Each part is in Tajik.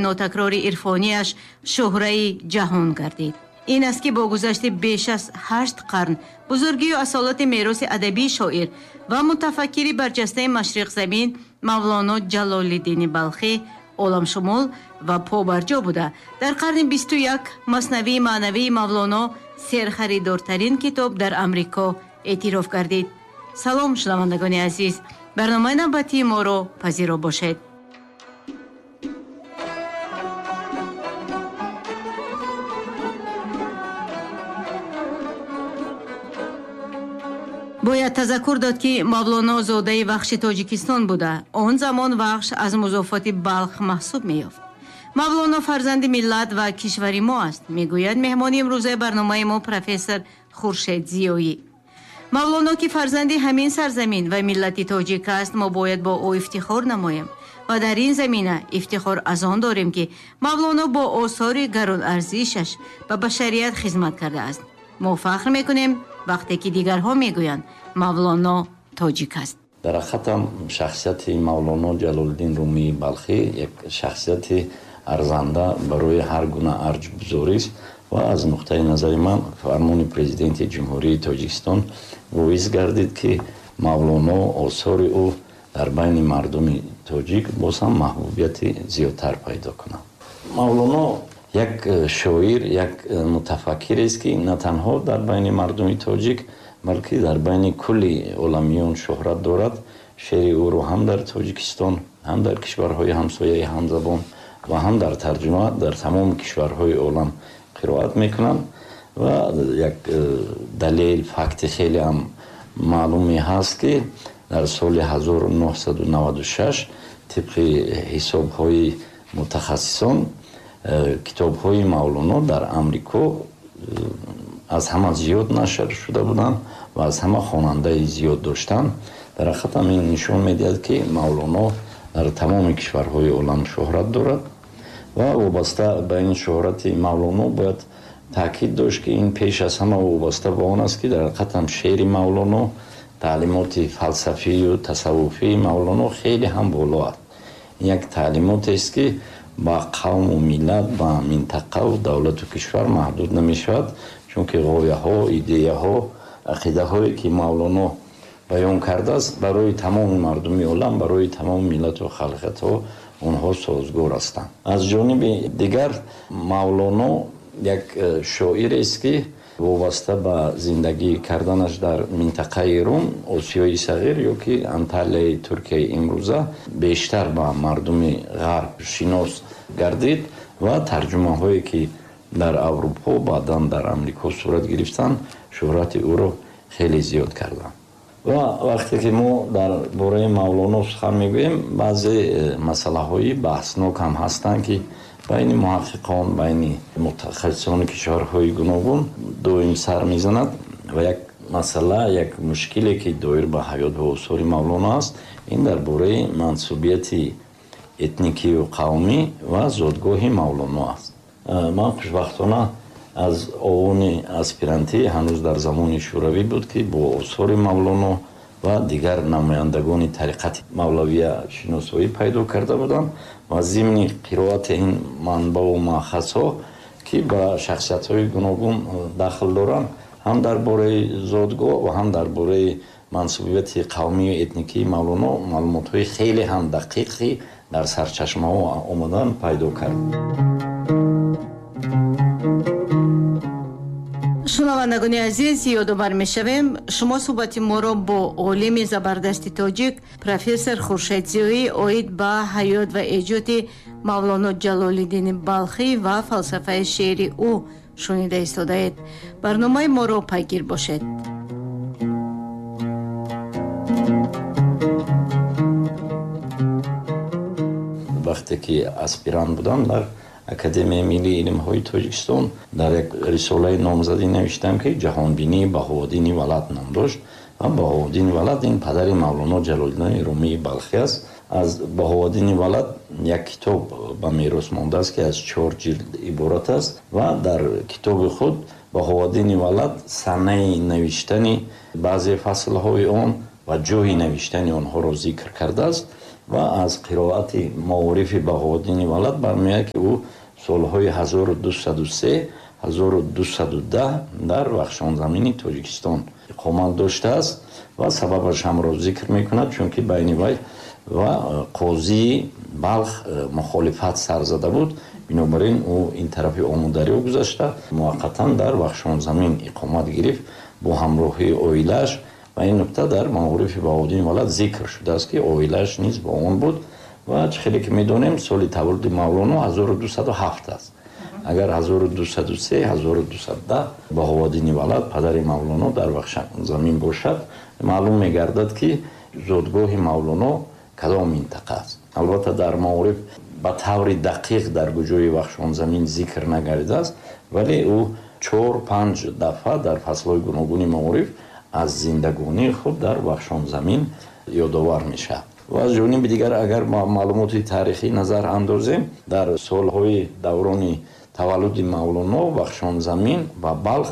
Нотакрори ирфонияш шӯҳраи ҷаҳон гардид. Ин аст, ки бо гузашти беш аз 8 қарн бузургию асолати мероси адабии шоир ва мутафаккири барҷастаи машриқзамин Мавлоно Ҷалолиддини Балхӣ оламшумул ва побарҷо буда, дар қарни 21 Маснавии маънавии Мавлоно серхаридортарин китоб дар Амрико эътироф гардид. Салом, шунавандагони азиз, барномаи навбатии моро пазиро бошед. Бояд тазаккур дод, ки Мавлоно зодаи Вахши Тоҷикистон буда, он замон Вахш аз музофоти Балх маҳсуб меёфт. Мавлоно фарзанди миллат ва кишвари мо аст, мегӯяд меҳмони имрӯзаи барномаи мо, профессор Хуршед Зиёӣ. Мавлоно, ки фарзанди ҳамин сарзамин ва миллати тоҷик аст, мо бояд бо ӯ ифтихор намоем ва дар ин замина ифтихор аз он дорем, ки Мавлоно бо осори гаронарзишаш ба башарият хизмат кардааст. Мо фахр мекунем, вақте ки дигарҳо мегӯянд, Мавлоно тоҷик аст. Дар ҳақиқатам, шахсияти Мавлоно Ҷалолиддин Румии Балхӣ як шахсияти арзанда барои ҳар гуна арҷгузорист ва аз нуқтаи назари ман фармони Президенти Ҷумҳурии Тоҷикистон боис гардид, ки Мавлоно, осори ӯ дар байни мардуми тоҷик боз ҳам маҳбубияти зиёдтар пайдо кунад. Мавлоно як шоир, як мутафаккирест, ки на танҳо дар байни мардуми тоҷик, балки дар байни кулли оламиён шӯҳрат дорад. Шеъри ӯро ҳам дар Тоҷикистон, ҳам дар кишварҳои ҳамсояи ҳамзабон ва ҳам дар тарҷума дар тамоми кишварҳои олам қироат мекунанд. Ва як далел, факти хеле ҳам маълуме ҳаст, ки дар соли 1996 тибқи ҳисобҳои мутахассисон китобҳои Мавлоно дар Амрико аз ҳама зиёд нашр шуда буданд ва аз ҳама хонандаи зиёд доштанд. Дар ҳақиқатам, ин нишон медиҳад, ки Мавлоно дар тамоми кишварҳои олам шӯҳрат дорад. Ва вобаста ба ин шӯҳрати Мавлоно бояд таъкид дошт, ки ин пеш аз ҳама вобаста ба он аст, ки дар ҳақиқатам шеъри Мавлоно, таълимоти фалсафию тасаввуфии Мавлоно хеле ҳам боло аст. Як таълимотест, ки ба қавму миллат, ба минтақаву давлату кишвар маҳдуд намешавад, чунки ғояҳо, идеяҳо, ақидаҳое, ки Мавлоно баён кардааст, барои тамоми мардуми олам, барои тамоми миллату халқиятҳо онҳо созгор ҳастанд. Аз ҷониби дигар, Мавлоно як шоирест, ки вобаста ба зиндагӣ карданаш дар минтақаи Рум, Осиёи Сағир ё ки Анталияи Туркияи имрӯза, бештар ба мардуми ғарб шинос гардид ва тарҷумаҳое, ки дар Аврупо, баъдан дар Амрико сурат гирифтанд, шӯҳрати ӯро хеле зиёд карданд. Ва вақте ки мо дар бораи Мавлоно сухан мегӯем, баъзе масъалаҳои баҳснок ҳам ҳастанд, ки байни муҳаққиқон, байни мутахассисони кишварҳои гуногун доим сар мезанад. Ва як масъала, як мушкиле, ки доир ба ҳаёт ва осори Мавлоно аст, ин дар бораи мансубияти этникию қавмӣ ва зодгоҳи Мавлоно аст. Ман хушбахтона аз овони аспирантӣ, ҳанӯз дар замони Шӯравӣ буд, ки бо осори Мавлоно ва дигар намояндагони тариқати мавлавия шиносоӣ пайдо карда будам. Ва зимни қироати ин манбаъу маъхазҳо, ки ба шахсиятҳои гуногун дахл доранд, ҳам дар бораи зодгоҳ ва ҳам дар бораи мансубияти қавмию этникии Мавлоно маълумотҳои хеле ҳам дақиқи дар сарчашмаҳо омадан пайдо кард. Шунавандагони азиз, ёдовар мешавем, шумо суҳбати моро бо олими забардасти тоҷик, профессор Хуршед Зиёӣ оид ба ҳаёт ва эҷоди Мавлоно Ҷалолиддини Балхӣ ва фалсафаи шеъри ӯ шунида истодаед. Барномаи моро пайгир бошед. Вақте ки аспирант будам дар Академияи миллии илмҳои Тоҷикистон, дар як рисолаи номзадӣ навиштам, ки «Ҷаҳонбинии Баҳовуддини Валад» ном дошт. Ва Баҳовуддини Валад ин падари Мавлоно Ҷалолиддини Румии Балхӣ аст. Аз Баҳовуддини Валад як китоб ба мерос мондааст, ки аз чор ҷилд иборат аст. Ва дар китоби худ Баҳовуддини Валад санаи навиштани баъзе фаслҳои он ва ҷои навиштани онҳоро зикр кардааст. Ва аз қироати Маорифи Баҳоуддини Валад бармеояд, ки ӯ солҳои 1203 1210 дар Вахшонзамини Тоҷикистон иқомат доштааст ва сабабаш ҳамро зикр мекунад, чунки байни вай ва қозии Балх мухолифат сар зада буд. Бинобар ин ӯ ин тарафи Омударё гузашта, муваққатан дар Вахшонзамин иқомат гирифт бо ҳамроҳии оилааш. Ва ин нукта дар Маорифи Баҳоуддини Валад зикр шудааст, ки оилааш низ бо он буд. Ва чӣ хеле ки медонем, соли таваллуди Мавлоно 1207 аст. Агар 1203 1210 Баҳоуддини Валад, падари Мавлоно, дар Вахшонзамин бошад, маълум мегардад, ки зодгоҳи Мавлоно кадом минтақа аст. Албатта, дар Маориф ба таври дақиқ дар куҷои Вахшонзамин зикр нагардидааст, вале ӯ 4-5 дафъа дар фаслҳои гуногуни Маориф аз зиндагонии худ дар Вахшонзамин ёдовар мешавад. Ва аз ҷониби дигар, агар ма маълумоти таърихӣ назар андозем, дар солҳои даврони таваллуди Мавлоно Вахшонзамин ва Балх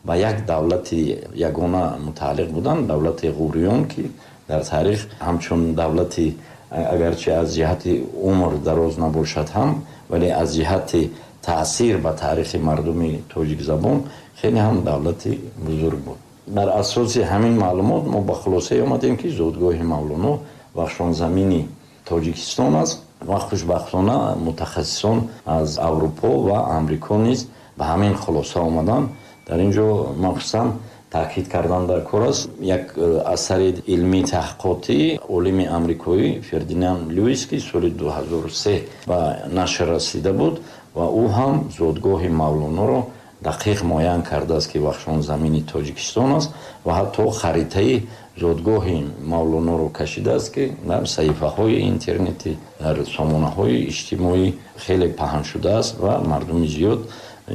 ба як давлати ягона мутааллиқ буданд, давлати Ғуриён, ки дар таърих ҳамчун давлати, агарчи аз ҷиҳати умр дароз набошад ҳам, вале аз ҷиҳати таъсир ба таърихи мардуми тоҷикзабон хеле ҳам давлати бузург буд. Дар асоси ҳамин маълумот мо ба хулосае омадем, ки зодгоҳи Мавлоно Вахшонзамини Тоҷикистон аст. Ва хушбахтона мутахассисон аз Аврупо ва Амрико низ ба ҳамин хулоса омаданд. Дар ин ҷо махсусан таъкид кардан дар кор аст як асари илмии таҳқиқотии олими амрикоӣ Фердинанд Люис, ки соли 2003 ба нашр расида буд ва ӯ ҳам зодгоҳи Мавлоноро дақиқ муайян кардааст, ки Вахшонзамини Тоҷикистон аст, ва ҳатто харитаи зодгоҳи Мавлоноро кашидааст, ки дар саҳифаҳои интернетӣ, дар сомонаҳои иҷтимоӣ хеле паҳн шудааст ва мардуми зиёд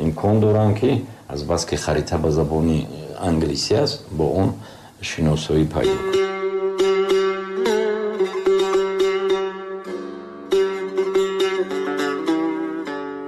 имкон доранд, ки азбаски харита ба забони англисӣ аст, бо он шиносоӣ пайдо кунанд.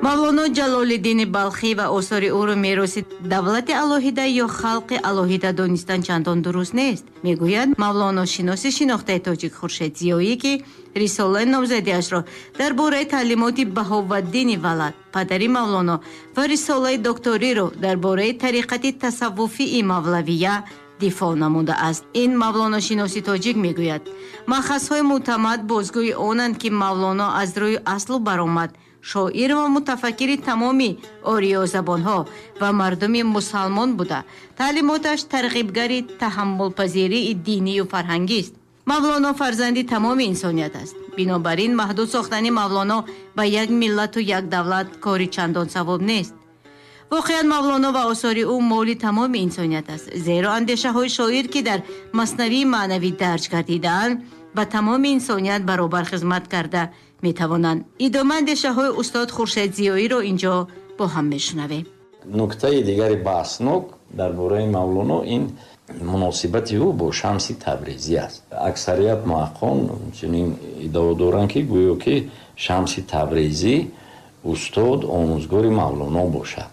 Мавлоно Ҷалолиддини Балхӣ ва осори ӯро мероси давлати алоҳида ё халқи алоҳида донистан чандон дуруст нест, мегӯяд мавлоношиноси шинохтаи тоҷик Хуршед Зиёӣ, ки рисолаи номзадиашро дар бораи таълимоти Баҳоваддини Валад, падари Мавлоно, ва рисолаи докториро дар бораи тариқати тасаввуфии мавлавия дифоъ намудааст. Ин мавлоношиноси тоҷик мегӯяд: маъхазҳои мӯътамад бозгӯи онанд, ки Мавлоно аз рӯи аслу баромад шоир ва мутафаккири тамоми ориёзабонҳо ва мардуми мусалмон буда, таълимоташ тарғибгари таҳаммулпазирии динию фарҳангист. Мавлоно фарзанди тамоми инсоният аст. Бинобар ин маҳдуд сохтани Мавлоно ба як миллату як давлат кори чандон савоб нест. Воқеан, Мавлоно ва осори ӯ моли тамоми инсоният аст, зеро андешаҳои шоир, ки дар Маснавии маънавӣ дарҷ гардидаанд, ба тамоми инсоният баробар хизмат карда метавонанд. Идома андешаҳои устод Хуршед Зиёиро инҷо бо ҳам мешунавем. Нуктаи дигари баҳснок дар бораи Мавлоно ин муносибати ӯ бо Шамси Табрезӣ аст. Аксарият муҳаққиқон чунин иддао доранд, ки гӯё ки Шамси Табрезӣ устод, омӯзгори Мавлоно бошад.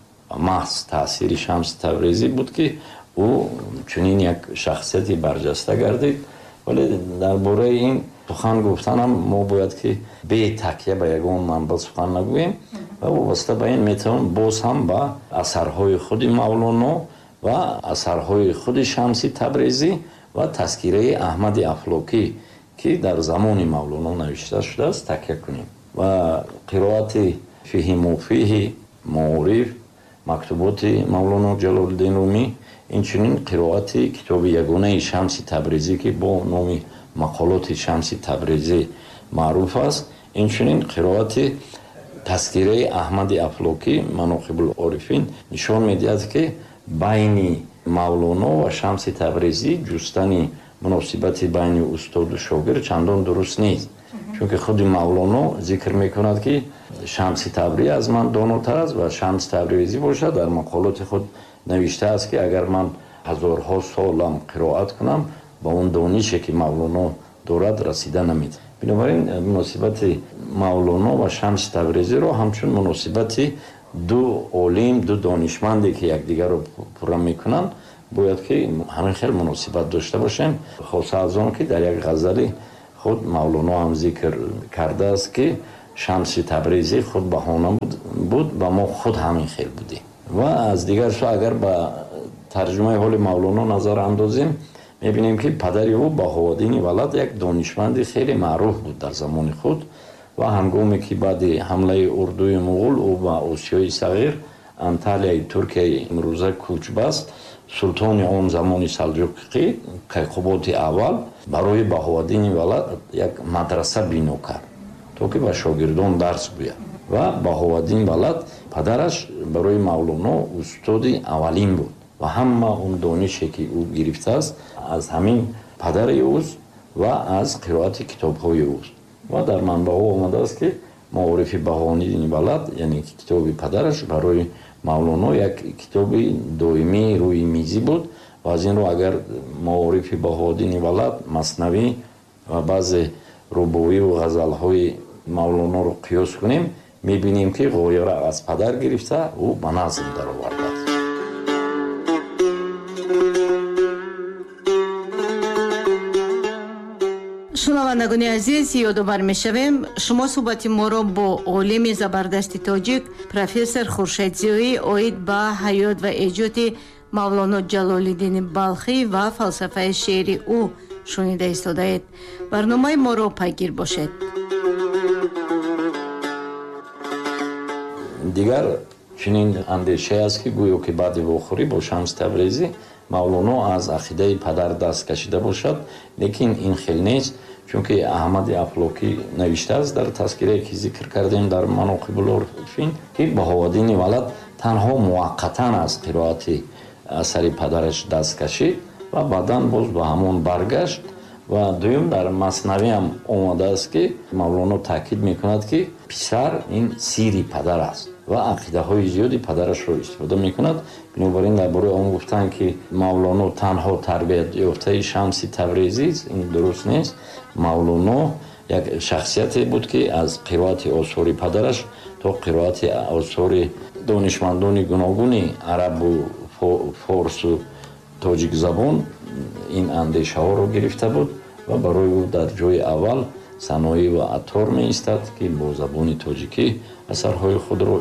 Маҳз таъсири Шамси Табрезӣ буд, ки ӯ чунин як шахсияти барҷаста гардид. Вале дар бораи ин сухан гуфтанам мо бояд ки бе такя ба ягон манбаъ сухан нагӯем ва вобаста ба ин метавон боз ҳам ба асарҳои худи Мавлоно ва асарҳои худи Шамси Табрезӣ ва тазкираи Аҳмади Афлокӣ, ки дар замони Мавлоно навишта шудааст, такя кунем. Ва қироати Фиҳи муфиҳи, Маориф, мактуботи Мавлоно Ҷалолиддин Румӣ, инчунин қироати китоби ягонаи Шамси Табрезӣ, ки бо номи Мақолоти Шамси Табрезӣ маъруф аст, инчунин қироати тазкираи Аҳмади Афлокӣ Маноқибул Орифин нишон медиҳад, ки байни Мавлоно ва Шамси Табрезӣ ҷустани муносибати байни устоду шогирд чандон дуруст нест, чунки худи Мавлоно зикр мекунад, ки Шамси Табрезӣ аз ман донотар аст, ва Шамси Табрезӣ бошад дар мақолоти худ навиштааст, ки агар ман ҳазорҳо солам қироат кунам, ба он донише, ки Мавлоно дорад, расида наметавонам. Бинобар ин муносибати Мавлоно ва Шамси Табрезиро ҳамчун муносибати ду олим, ду донишманде, ки якдигарро пурра мекунанд, бояд ки ҳамин хел муносибат дошта бошем, хоса аз он ки дар як ғазали Худ Мавлоно ҳам зикр кардааст, ки Шамси Табрезӣ худ баҳона буд ва мо худ ҳамин хел будем. Ва аз дигар сӯ агар ба тарҷумаи ҳоли Мавлоно назар андозем, мебинем, ки падари ӯ Баҳоуддини Валад як донишманди хеле маъруф буд дар замони худ ва ҳангоме ки баъди ҳамлаи урдуи муғул ӯ ба Осиёи Сағир, Анталияи Туркияи имрӯза кӯч баст, султони он замони Салҷуқӣ Кайқуботи аввал барои Баҳоуддини Валад як мадраса бино кард, то ки ба шогирдон дарс гӯяд. Ва Баҳоуддин Валад падараш барои Мавлоно устоди аввалин буд ва ҳама он донише, ки ӯ гирифтааст, аз ҳамин падари ӯст ва аз қироати китобҳои ӯст. Ва дар манбаъҳо омадааст, ки Маорифи Баҳоуддини Валад, яъне китоби падараш, барои Мавлоно як китоби доимии рӯи мизӣ буд. Ва аз ин рӯ агар Маорифи Баҳоуддини Валад, Маснавӣ ва баъзе рубоию ғазалҳои Мавлоноро қиёс кунем, мебинем, ки ғояро аз падар гирифта, ӯ ба назм даровардааст. Шунавандагони азиз, ёдовар мешавем, шумо суҳбати моро бо олими забардасти тоҷик, профессор Хуршед Зиёӣ оид ба ҳаёт ва эҷоди Мавлоно Ҷалолиддини Балхӣ ва фалсафаи шеъри ӯ шунида истодаед. Барномаи моро пайгир бошед. Дигар чунин андешае аст, ки гӯё ки баъди вохӯрӣ бо Шамс Табрезӣ Мавлоно аз ақидаи падар даст кашида бошад, лекин ин хел нест, чунки Аҳмади Афлокӣ навиштааст дар тазкирае, ки зикр кардем дар Маноқибул Орифин, ки Баҳоуддини Валад танҳо муваққатан аз қироати асари падараш даст кашид ва баъдан боз ба ҳамон баргашт. Ва дуюм, дар Маснавӣ ҳам омадааст, ки Мавлоно таъкид мекунад, ки писар ин сири падар аст ва ақидаҳои зиёди падарашро истифода мекунад. Бинобар ин дар бораи он гуфтанд, ки Мавлоно танҳо тарбиятёфтаи Шамси Табрезист, ин дуруст нест. Мавлоно як шахсияте буд, ки аз қироати осори падараш то қироати осори донишмандони гуногуни арабу форсу тоҷикзабон ин андешаҳоро гирифта буд ва барои ӯ дар ҷои аввал Саноӣ ва Аттор меистад, ки бо забони тоҷикӣ асарҳои худро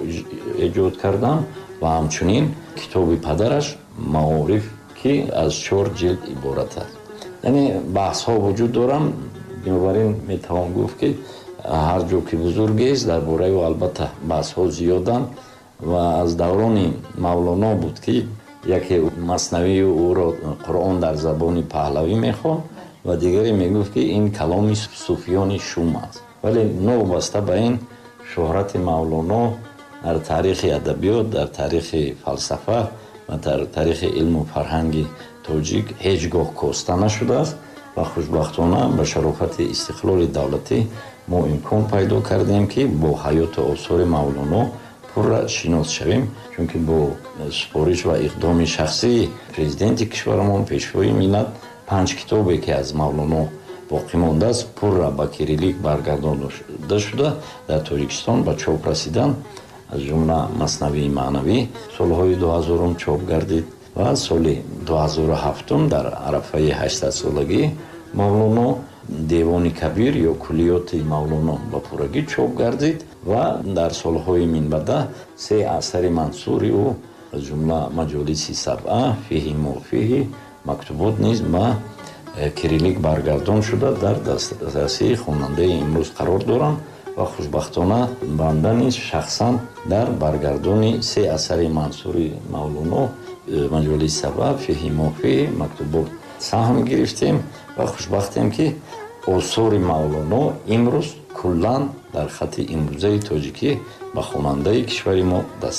эҷод карданд, ва ҳамчунин китоби падараш Маориф, ки аз 4 ҷилд иборат аст. Яъне баҳсҳо вуҷуд доранд. Бинобар ин метавон гуфт, ки ҳар ҷо ки бузургест, дар бораи ӯ албатта баҳсҳо зиёданд. Ва аз даврони Мавлоно буд, ки яке Маснавии ӯро Қуръон дар забони паҳлавӣ мехонд ва дигаре мегуфт, ки ин каломи суфиёни шум аст. Вале новобаста ба ин, шӯҳрати Мавлоно дар таърихи адабиёт, дар таърихи фалсафа ва дар таърихи илму фарҳанги тоҷик ҳеҷ гоҳ коста нашудааст ва хушбахтона ба шарофати истиқлоли давлатӣ мо имкон пайдо кардем, ки бо ҳаёту осори Мавлоно пурра шинос шавем, чунки бо супориш ва иқдоми шахсии президенти кишварамон, Пешвои миллат, 5 китобе, ки аз Мавлоно боқӣ мондааст, пурра ба кириллик баргардонида шуда, дар Тоҷикистон ба чоп расиданд. Аз ҷумла Маснавии маънавӣ солҳои 2000 чоп гардид ва соли 2007 дар арафаи 800-солагии Мавлоно Девони Кабир ё Куллиёти Мавлоно ба пуррагӣ чоп гардид ва дар солҳои минбаъда се асари мансури ӯ, аз ҷумла Маҷолиси сабъа, Фиҳи мофиҳи, Мактубот низ ба кириллик баргардон шуда, дар дастрасии хонандаи имрӯз қарор доранд. Ва хушбахтона банда низ шахсан дар баргардони се асари мансури Мавлоно, Маҷолиси сабъа, Фиҳи мофиҳи, Мактубот саҳм гирифтем ва хушбахтем, ки осори Мавлоно имрӯз куллан дар хати имрӯзаи тоҷикӣ ба хонандаи кишвари мо даст